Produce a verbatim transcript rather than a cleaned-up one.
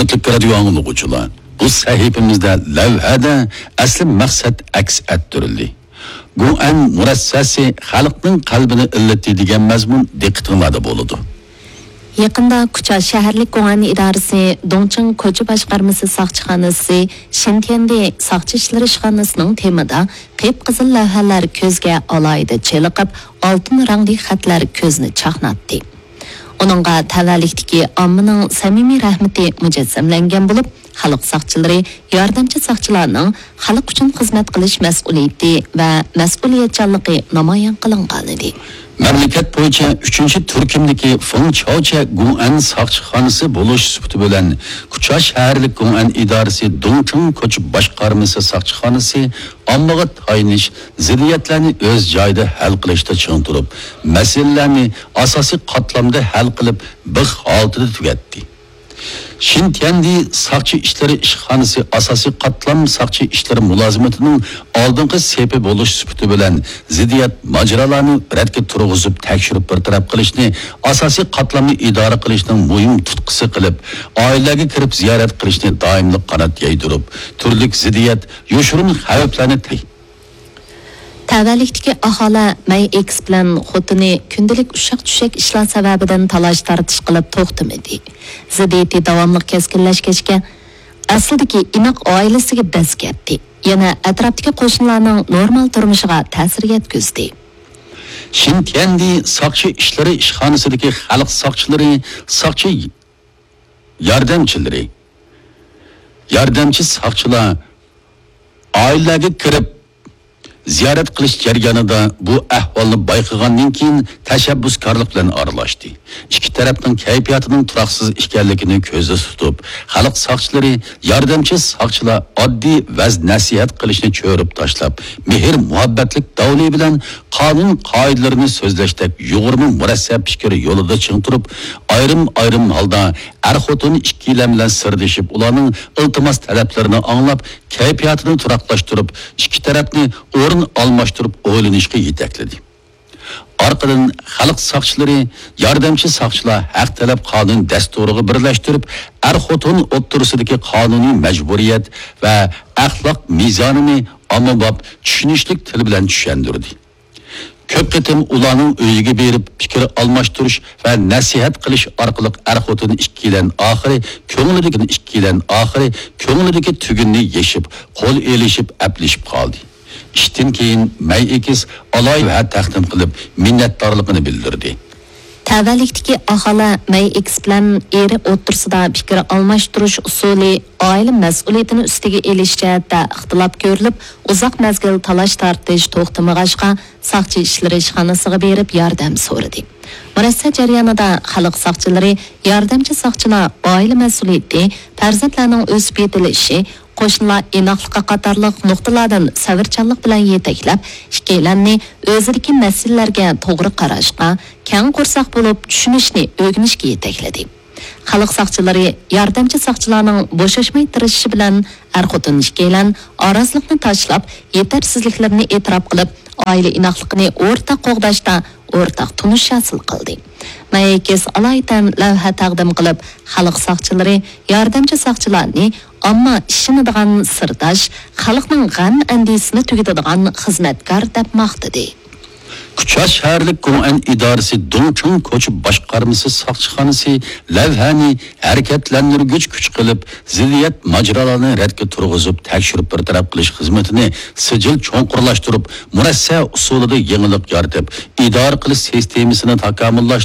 ھۆرمەتلىك رادىيو ئاڭلىغۇچىلار، بۇ سەھىپىمىزدە لەۋھەدە ئەسلى مەقسەت ئەكس ئەتتۈرۈلدى. گۇڭئەن مۇرەسسەسى خەلقنىڭ قەلبىنى ئىللىتتى دېگەن مەزمۇن دىققىتىڭلاردا بولىدۇ. يېقىندا كۇچا شەھەرلىك گۇڭئەن ئىدارىسى دۇڭچىڭ كوچا باشقارمىسى ساقچىخانىسى شىنتيەندى ساقچى ئىشلىرى ئىشخانىسىنىڭ تېمىدا قىپقىزىل لەۋھەلەر كۆزگە ئالاھىدە چېلىقىپ، ئالتۇن رەڭلىك خەتلەر كۆزنى چاقناتتى. ئۇنىڭغا تەۋەلىكتىكى ئاممىنىڭ سەمىمىي رەھمىتى مۇجەسسەملەنگەن بولۇپ، خەلق ساقچىلىرى ياردەمچى ساقچىلارنىڭ خەلق ئۈچۈن خىزمەت قىلىش مەسئۇلىيىتى ۋە مەسئۇلىيەتچانلىقى نامايان قىلىنغانىدى. مەملىكەت بويىچە ئۈچىنچى تۈركۈمدىكى فېڭ چاۋچە گۇڭئەن ساقچىخانىسى بولۇش سۈپىتى بىلەن، كۇچا شەھەرلىك گۇڭئەن ئىدارىسى دۇڭچىڭ كوچا باشقارمىسى ساقچىخانىسى ئاممىغا تايىنىش، زىددىيەتلەرنى ئۆز جايىدا ھەل قىلىشتا چىڭ تۇرۇپ، مەسىلىلەرنى ئاساسىي قاتلامدا ھەل قىلىپ، بىخ ھالىتىدە تۈگەتتى. شىنتيەندى ساقچى ئىشلىرى ئىشخانىسى ئاساسىي قاتلام ساقچى ئىشلىرى مۇلازىمىتىنىڭ ئالدىنقى سېپى بولۇش سۈپىتى بىلەن، زىددىيەت ماجىرالارنى رەتكە تۇرغۇزۇپ، تەكشۈرۈپ بىر تەرەپ قىلىشنى ئاساسىي قاتلامنى ئىدارە قىلىشنىڭ مۇھىم تۇتقىسى قىلىپ، ئائىلىلەرگە كىرىپ زىيارەت قىلىشنى دائىملىق قانات يايدۇرۇپ، تۈرلۈك زىددىيەت، يوشۇرۇن خەۋپلەرنى تەي- تەۋەلىكتىكى ئاھالە مەي ئېكىس بىلەن خوتۇنى كۈندىلىك ئۇششاق-چۈششەك ئىشلار سەۋەبىدىن تالاش-تارتىش قىلىپ توختىمىدى. زىددىيىتى داۋاملىق كەسكىنلەشكەچكە، ئەسلىدىكى ئىناق ئائىلىسىگە دەز كەتتى. يەنە ئەتراپتىكى قوشنىلارنىڭ نورمال تۇرمۇشىغا تەسىر يەتكۈزدى. شىنتيەندى ساقچى ئىشلىرى ئىشخانىسىدىكى خەلق ساقچىلىرى، ساقچى ياردەمچىلىرى، ياردەمچى ساقچىلار ئائىلىلەرگە كىرىپ زىيارەت قىلىش جەريانىدا بۇ ئەھۋالنى بايقىغاندىن كېيىن، تەشەببۇسكارلىق بىلەن ئارىلاشتى. ئىككى تەرەپنىڭ كەيپىياتىنىڭ تۇراقسىز ئىكەنلىكىنى كۆزدە تۇتۇپ، خەلق ساقچىلىرى، ياردەمچى ساقچىلار ئاددىي ۋەز-نەسىھەت قىلىشنى چۆرۈپ تاشلاپ، مېھىر-مۇھەببەتلىك داۋنى بىلەن قانۇن قائىدىلىرىنى سۆزلەشتەك يۇغۇرما مۇرەسسە پىكىر يولىدا چىڭ تۇرۇپ، ئايرىم-ئايرىم ھالدا ئەر-خوتۇن ئىككىيلەن بىلەن سىردىشىپ، ئۇلارنىڭ ئىلتىماس-تەلەپلىرىنى ئاڭلاپ، كەيپىياتىنى تۇراقلاشتۇرۇپ، ئىككى تەرەپنى ئورۇن ئالماشتۇرۇپ ئويلىنىشقا يېتەكلىدى. ئارقىدىن خەلق ساقچىلىرى، ياردەمچى ساقچىلار ھەق تەلەپ قانۇن دەستۇرىغا بىرلەشتۈرۈپ، ئەر-خوتۇن ئوتتۇرىسىدىكى قانۇنىي مەجبۇرىيەت ۋە ئەخلاق مىزانىنى ئاممىباب، چۈشىنىشلىك تىل بىلەن چۈشەندۈردى. كۆپ قېتىم ئۇلارنىڭ ئۆيىگە بېرىپ پىكىر ئالماشتۇرۇش ۋە نەسىھەت قىلىش ئارقىلىق ئەر-خوتۇن ئىككىيلەن ئاخىرى كۆڭلىدىكى، ئىككىيلەن ئاخىرى كۆڭلىدىكى تۈگۈننى يېشىپ، قول ئېلىشىپ، ئەپلىشىپ قالدى. ئىشتىن كېيىن مەي ئېكىس ئالاھىدە تەقدىم قىلىپ، مىننەتدارلىقىنى بىلدۈردى. تەۋەلىكتىكى ئاھالە مەي ئېكىس بىلەن ئېرى ئوتتۇرىسىدا پىكىر ئالماشتۇرۇش ئۇسۇلى ئائىلە مەسئۇلىيىتىنى ئۈستىگە ئېلىش جەھەتتە ئىختىلاپ كۆرۈلۈپ، ئۇزاق مەزگىل تالاش-تارتىش توختىمىغاچقا، ساقچى ئىشلىرى ئىشخانىسىغا بېرىپ ياردەم سورىدى. مۇرەسسە جەريانىدا خەلق ساقچىلىرى، ياردەمچى ساقچىلار ئائىلە مەسئۇلىيىتى، پەرزەنتلەرنىڭ ئۆسۈپ يېتىلىشى، قوشنىلار ئىناقلىقى قاتارلىق نۇقتىلاردىن سەۋرچانلىق بىلەن يېتەكلەپ، ئىككىيلەننى ئۆزىدىكى مەسىلىلەرگە توغرا قاراشقا، كەڭ قورساق بولۇپ چۈشىنىشنى ئۆگىنىشكە يېتەكلىدى. خەلق ساقچىلىرى ياردەمچى ساقچىلارنىڭ بوشاشماي تىرىشىشى بىلەن ئەر-خوتۇن ئىككىيلەن ئارازلىقنى تاشلاپ، يېتەرسىزلىكلىرىنى ئېتىراپ قىلىپ، ئائىلە ئىناقلىقىنى ئورتاق قوغداشتا ئورتاق تونۇش ھاسىل قىلدى. مەيكىس ئالايىتەن لەۋھە تەقدىم قىلىپ، خەلق ساقچىلىرى ياردەمچى ساقچىلارنى ئامما ئىشىنىدىغان سىرداش، خەلقنىڭ غەم-ئەندىشىسىنى تۈگىتىدىغان خىزمەتكار دەپ ماختىدى. كۇچا شەھەرلىك گوڭئەن ئىدارىسى دۇڭچىڭ كوچا باشقارمىسى ساقچىخانىسى لەۋھەنى ھەرىكەتلەندۈرگۈچ كۈچ قىلىپ، زىددىيەت ماجىرالارنى رەتكە تۇرغۇزۇپ، تەكشۈرۈپ بىر تەرەپ قىلىش خىزمىتىنى سىجىل چوڭقۇرلاشتۇرۇپ، مۇرەسسە ئۇسۇلىدا يېڭىلىق يارىتىپ، ئىدارە قىلىش سىستېمىسىنى تاكامۇللاشتۇرۇپ،